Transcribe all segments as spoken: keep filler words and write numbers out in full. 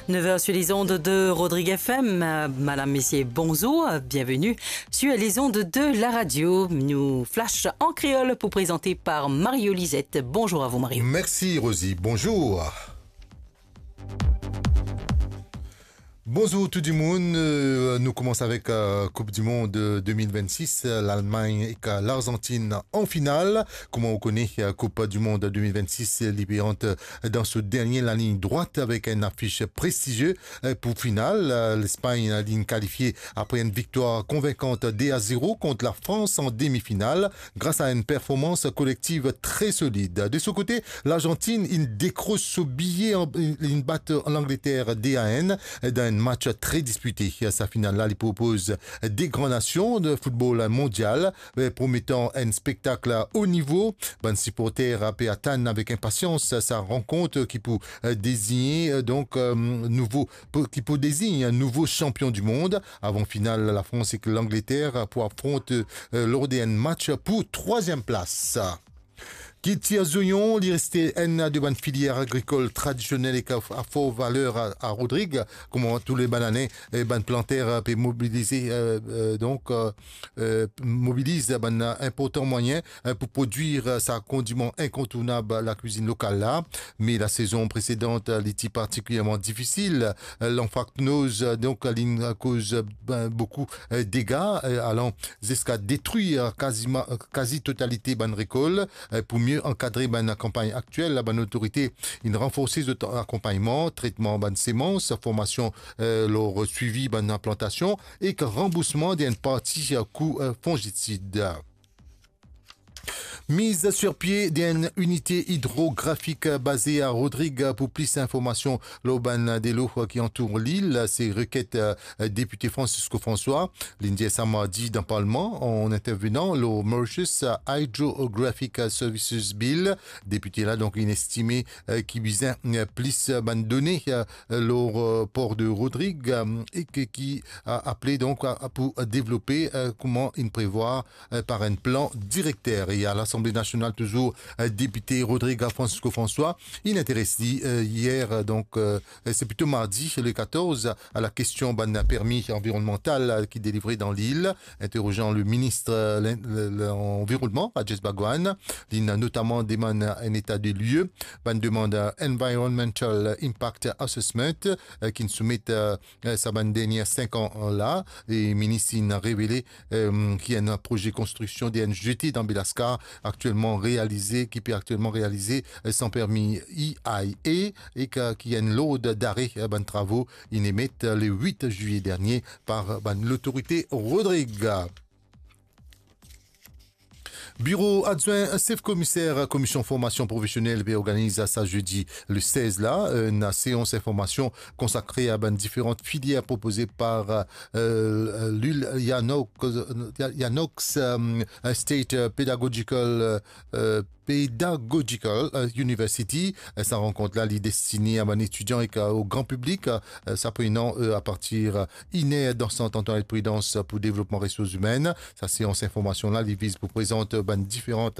Neuf heures sur les ondes de Rodrigue F M. Euh, madame, messieurs, bonjour, bienvenue sur les ondes de la radio. Nou flash an kreol pou prezante par Mario Lisette. Bonjour à vous, Mario. Merci, Rosie. Bonjour. Bonjour tout dimoun. Euh, nou koumans avek, euh, Coupe du Monde, euh, deux mille vingt-six, euh, Lalmagn ek, euh, Larzantin an final. Kouma ou kone, euh, Coupe du Monde deux mille vingt-six, euh, li pe ant, euh, dan so dernie lalign drwat avek enn afish prestizie. Euh, pou final, euh, Lespagn, euh, linn kalifie apre enn viktwar konvinkan deux à zéro kont Lafrans an demi-final, gras a enn performans kolektiv tre solid. De so kote, Larzantin inn dekros so biye an, inn bat Langleter deux à un dan enn match tre dispite. Sa final la, li propoz de gran nasion de foutbol mondial, eh, prometan enn spektak o nivo. Bann siporter pe atann avek inpasians sa rankont ki pou, eh, dezign, eh, donk, eh, nouvo, pou, ki pou dezign nouvo sanpion dimond. Avan final, Lafrans ek Langleter pou afront, eh, lor de enn match pou trwaziem plas. Kiltir zoyon, li reste enn de bann filier agrikol tradisionel ek a, a for valer a, a Rodrig. Kouma tou le bann ane, eh, bann planter, eh, pe mobilize, eh, eh, donk, eh, eh, mobiliz bann inportan mwayin, eh, pou prodwir, eh, sa kondiman inkontournab lakwizinn lokal la. Me lasezon presedan, eh, li ti partikilierman difisil. Eh, lanfraknoz, eh, donk, linn koz, eh, ben, boukou, eh, dega, eh, alan ziska detrir kazima-, kazi totalite bann rekol. Eh, pou mie ankadre bann kanpagn aktiel, bann otorite inn ranforse zot akonpagnman, tretman bann semans, formasion, eh, lor swivi bann plantasion ek ranboursman de enn parti kou, eh, fongitsid. Miz sir pie de enn inite idrografik baze a Rodrig. Pou plis informasion lor bann delo ki antour lil, se reket, eh, depite Francisco François. Linn dir sa mardi dan Parlman an intervenan lor Mauritius Hydrographic Services Bill. Depite la, donk, inn estime, eh, ki bizin, eh, plis, eh, bann done, eh, lor, eh, por de Rodrig, eh, e ki, ki, eh, aple, donk, eh, pou devlope, eh, kouma inn prevwar, eh, par enn plan direkter. E a Lasanble Nasional touzour, eh, depite Rodrig Francisco François, inn interes li, eh, yer, eh, donk, eh, se plito mardi, le quatorze, a lakestion bann permi anvironnmantal, eh, ki delivre dan lil. Interozan le minis, eh, lin-, le, le, lanvironnman, Rajesh Bhagwan, linn notaman demann enn eta de lie, bann demann, eh, Environmental Impact Assessment, eh, ki'nn soumet, eh, eh, sa bann dernie sink an, eh, la, e minis inn revele, eh, ki enn proze konstriksion de enn zete dan Belascar aktielman realize, ki pe aktielman realize, eh, san permi E I A, e ki, ki enn lord dare, eh, bann travo inn emet, eh, le wit zilie dernie par bann lotorite Rodrig. Biro adwin sef komiser Komision Formasion Profesionel pe organiz sa zedi le sez la, enn seans informasion konsakre a bann diferan filier propoze par, eh, Lilianox, eh, State, eh, Pedagogical, eh, Pedagogical, eh, University. Eh, sa rankont la, li destine a bann etidian ek, eh, o gran piblik. Eh, sa prenan, eh, apartir, eh, iner dan Sant Antoinette Prudence pou devlopman resours imenn. Sa seans informasion la, li viz pou prezant bann diferan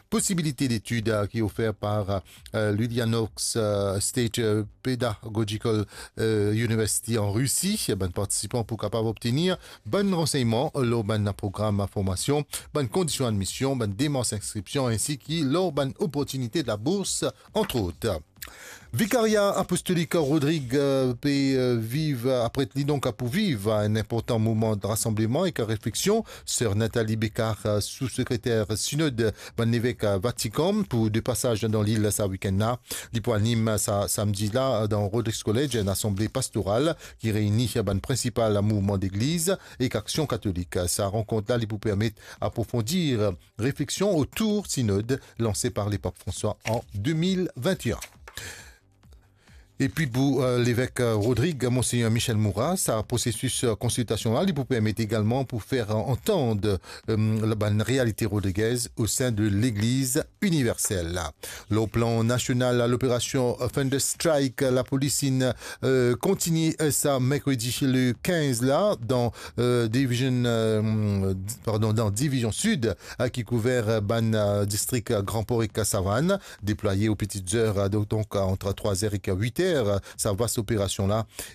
posibilite detid, eh, ki ofer par, eh, Lilianox, eh, State, eh, Pedagogical, eh, University an Risi. Bann partisipan pou kapav obtenir bann ransegnman lor bann program formasion, bann kondision admision, bann demars inskripsion, ensi ki lor bann oportinite de labours, antrot. Vikaria Apostolik Rodrig, eh, pe, eh, viv, eh, apre li donk pou viv enn inportan moman de rasanbleman ek refleksion. Ser Nathalie Becard, eh, sou-sekreter Sinod bann Levek, eh, Vatikan, pou de pasaz dan lil sa wikenn la. Li pou anim sa samdi la dan Rodrigues College enn asanble pastoral ki reyni bann prinsipal mouvman legliz ek Aksion Katolik. Sa rankont la, li pou permet aprofondir refleksion otour Sinod lanse par Lepap François an de mil vinte-e-enn. Epi pou, eh, Levek, eh, Rodrig, Monseyner Michel Moura, sa prosesis, eh, konsiltasion la, li pou permet egalman pou fer antann, eh, la bann realite rodrigez o sein de Legliz Iniversel. Lor plan nasional, loperasion Thunder Strike, lapolis inn, eh, kontigne, eh, sa merkredi le kinz la dan, eh, division, eh, pardon, dan divizion sid, eh, ki kouver, eh, bann, eh, distrik, eh, Grand Port ek Savane, deplwaye o peti zer, eh, donk, donk, eh, ant trwa zer ek wit zer. fer sa vas operasion la.